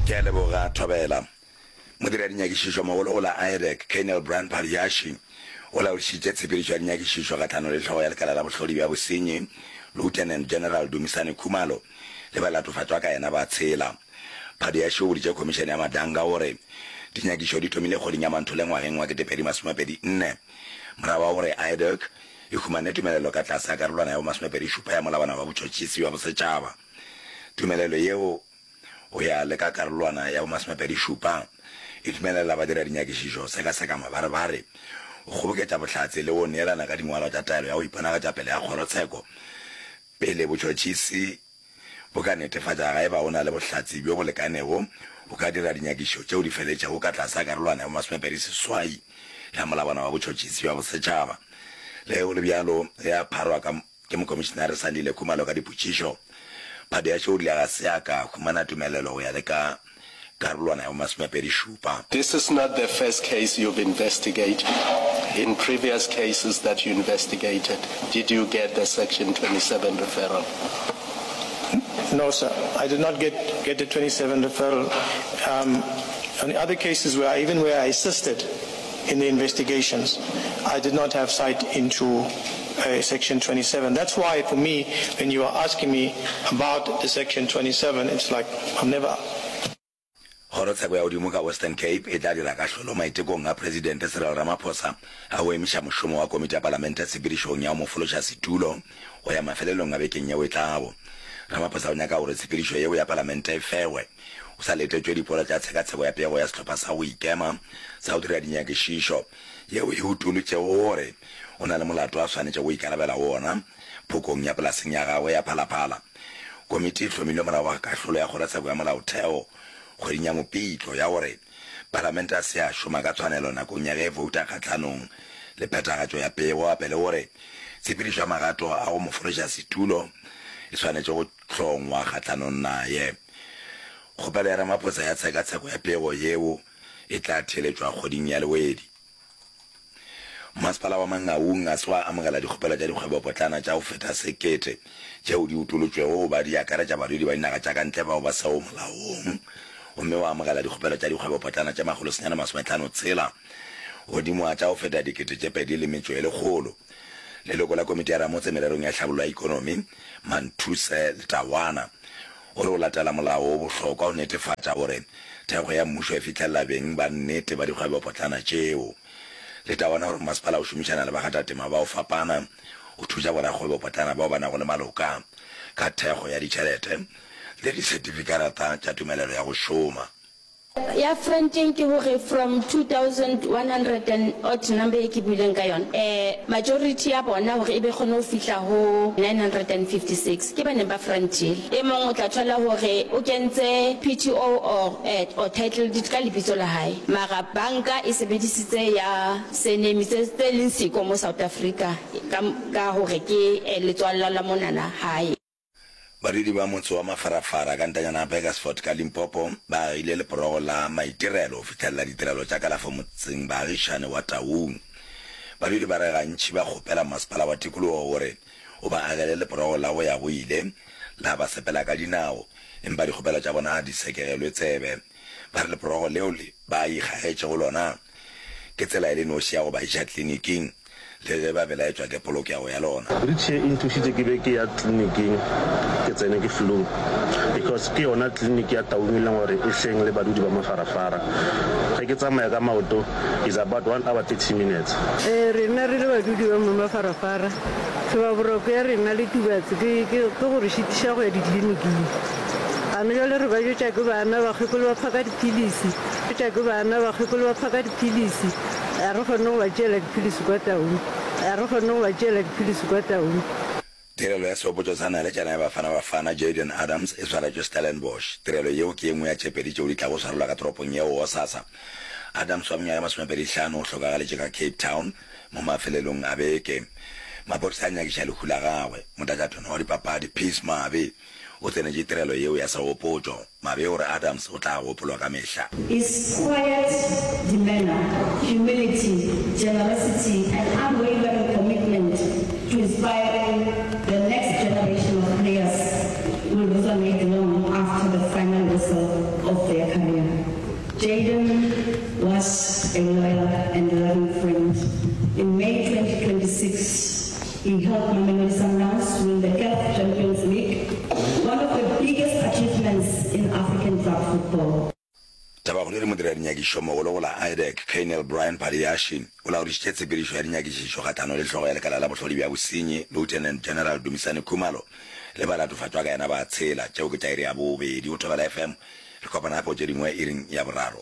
Ke a leboga, Thobela. Modiradinnyakišišo mogolo go la IDAC, Colonel Brian Padayachy, o laodišitše tshepedišo ya dinyakišišo kgahlanong le hlogo ya lekala la bohlodi bja bosenyi, Lieutenant General Dumisani Khumalo, le balatofatšwa ka yena ba tshela. Padayachy o boditše Khomišene ya Madlanga gore dinyakišo di thomile kgweding ya Manthole ngwageng wa 2024 morago ga gore IDAC e humane tumelelo ka tlase ga karolwana ya bo 27 ya Molawana wa Botšhotšhisi bja Bosetšhaba. Tumelelo yeo go ya le ka karolwana ya bomasomepedi-šupa, e dumelela badiradinyakišišo go sekaseka mabarebare, go kgoboketša bohlatse le go neelana ka dingwalwa tša taelo ya go iponagatša pele ga kgorotsheko pele botšhotšhisi bo ka netefatša ga e ba go na le bohlatse bjo bo lekanego go ka dira dinyakišišo tšeo di feletšego ka tlase ga karolwana ya bomasomepedi-seswai ya Molawana wa Botšhotšhisi bja Bosetšhaba. Le ge go le bjalo, ge a pharwa ka. Ke Mokomišenare Sandile Khumalo ka dipotšišo. Phadiaše o rile ga se a ka a humana tumelelo go ya le ka karolwana ya bomasomepedi-šupa. This is not the first case you've investigated. In previous cases that you investigated, did you get the section 27 referral? No, sir. I did not get, get the 27 referral. Um, on other cases where I, even where I assisted in the investigations, I did not have sight into uh, Section 27. That's why, for me, when you are asking me about the Section 27, it's like I've never. Kgorotsheko ya godimo ka Western Cape e tla dira kahlolo maitekong a Presidente Cyril Ramaphosa a go emiša mošomo wa komiti ya palamente tshepedišong ya go mo fološa setulo go ya mafelelong a bekeng yeo e tlago. Ramaphosa o nyaka gore tshepedišo yeo ya palamente e fewe go sa letetšwe dipolo tša tshekatsheko ya pego ya sehlopha sa go ikema sa go dira dinyakišišo yeo e utolotšego gore o na le molato a swanetšego go ikarabela go wona phokong ya polaseng ya gagwe ya Phalaphala. Komiti e hlomilwe morago ga kahlolo ya Kgorotsheko ya Molaotheo kgweding ya Mopitlo ya gore Palamente a se ya šoma ka tshwanelo nakong ya ge e bouta kgahlanong le phethagatšo ya pego gape le gore tshepedišo ya magato a go mo fološa setulo e swanetše go hlongwa kgahlanong naye. Kgopelo ya Ramaphosa ya tshekatsheko ya pego yeo e tla theeletšwa kgweding ya Lewedi. Masepala wa Mangaung ga se wa amogela dikgopelo tša dikgwebopotlana tša go feta sekete tšeo di utolotšwego go ba di akaretša badudi ba dinaga tša ka ntle bao ba sego molaong gomme wa amogela dikgopelo tša dikgwebopotlana tše makgolosenyane masometlhano tshela godimo ga tša go feta 2100. Leloko la komiti ya Ramotse mererong ya tlhabollo ya ikonomi, Manthuse Letawana, o re go latela molao o bohlokwa go netefatša gore thekgo ya mmušo e fihlelela beng ba nnete ba dikgwebopotlana tšeo. Letawana o re masepala o šomišana le bakgathatema ba go fapana go thuša borakgwebopotlana bao ba nago le maloka ka thekgo ya ditšhelete le disetifikarata tša tumelelo ya go šoma. Ya fronteng ke gore from 2100 and odd number ye ke buileng ka yona, eh majority ya bona gore e be kgone go fihla go 956 ke ba neng ba frontile. E mong o tla thola gore o kentse PTO or eh or title deed ka lebitso la hae mara banka e sebedisitse ya surname tse tse leng siko mo South Africa ka ka gore ke eh letswalla la monana hae. Badudi ba motse wa Mafarafara ka ntanyana ya Burgersfort ka Limpopo ba agile leporogo la maitirelo go fihlelela ditirelo tša kalafo motseng baagišane wa Taung. Badudi ba re gantši ba kgopela masepala wa tikologo gore o ba agele leporogo la go ya go ile la ba sepela ka dinao empa dikgopelo tša bona ga di sekegelwe tsebe. Ba re leporogo leo ba ikgagetšego lona Ke tsela e le noši ya go ba iša kliniking, le ge ba belaetšwa ke polokego ya lona. Wheelchair e nthušitše ke be ke ya kliniking ke tsene ke flu because ke yona clinic ya Taung e leng gore e hleng le badudi ba Mafarafara. Ge ke tsamaya ka maoto is about one hour 30 minutes. Ee, rena re le badudi ba mo Mafarafara, tlhobaboroko ya rena le Tubatse ke, ke, ke go re šitiša go ya dikliniking. Gane bjale re ba jwetša ke bana, bakgekolo ba phaka diphilisi. Tša ke bana, bakgekolo ba phaka diphilisi, ga re kgone go ba tšeela diphilisi kwa Taung, ga re kgone go ba tšeela diphilisi kwa Taung. Tirelo ya sehopotšo sa naletšana ya Bafana Bafana, Jayden Adams, e swaretšwe Stellenbosch. Tirelo yeo ke ye nngwe ya tše pedi tšeo di tlago swarelwa ka toropong yeo gosasa. Adams wa mengwaga ye masomepedihlano o hlokagaletše ka Cape Town mo mafelelong a beke. Maphodisa a nyakiša lehu la gagwe. Motlatšatona wa dipapadi, Peace Mabe, O tsenetše tirelo yeo ya segopotšo. Mabe o re Adams o tla gopolwa ka mehla. His quiet demeanour, humility, generosity and unwavering commitment to inspiring the next generation of players will resonate long after the final whistle of their careers. Jayden was a loyal and loving friend. In May 2026, he helped Mamelodi Sundowns win the CAF Champions League, one of the biggest achievements in African club football. Tabakgolo e re Modiradinyakešomogolo go la IDAC, Colonel Brian Padiashi, o laodišitše tshepedišo ya dinyakišišo kgahlano le hlogo ya lekala la bohlodi bja bosenyi, Lieutenant General Dumisani Khumalo, le balatofatšwa ka yena ba tshela. Tšeo ke tša iri ya bobedi go Thobela FM. Re kopana gape go tše dingwe iring ya boraro.